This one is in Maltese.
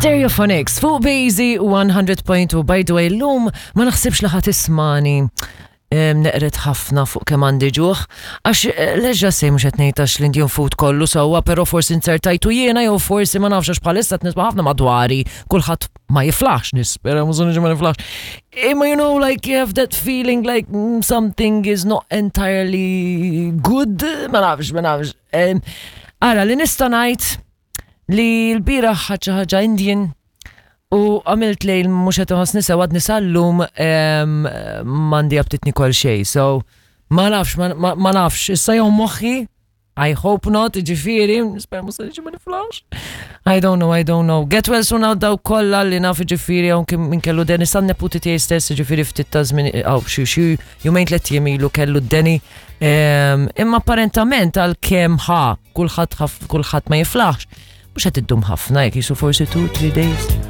Stereophonics fuq Bazy 100.2. By the way, l-lum ma naħsibx li ħat ismani neqret ħafna fuq kemm għandi ġuħ, għax eh, leġġa sej mhux qed ngħid għax l-Indian food kollu sewwa, però forsi nzertajtu jiena jew forsi ma nafx għax bħalissa qed nisma' ħafna madwari kulħadd ma jiflaħx nispera mhux ma niflaħx. Imma you know like you have that feeling like something is not entirely good, ma nafx, ma nafx. Ara li nista' ngħid li l-bieraħ ħadt xi ħaġa Indian u għamilt lejl mhux qed inħossni sew għadni sal-lum m'għandi aptit nikol xejn. So ma nafx, ma nafx, issa jew moħħi, I hope not, ġifieri, nispera mhux se niġi ma niflax. I don't know, I don't know. Get well soon għal dawk kollha li naf ġifieri hawn min kellu deni sa neputi tiegħi stess ġifieri ftit ta' żmien hawn xi xi jumejn tliet jiem ilu kellu d-deni. Imma apparentament għal kemm ħa kulħadd kulħadd ma jiflaħx, mhux qed iddum ħafna jekk jisu forsi 2-3 days.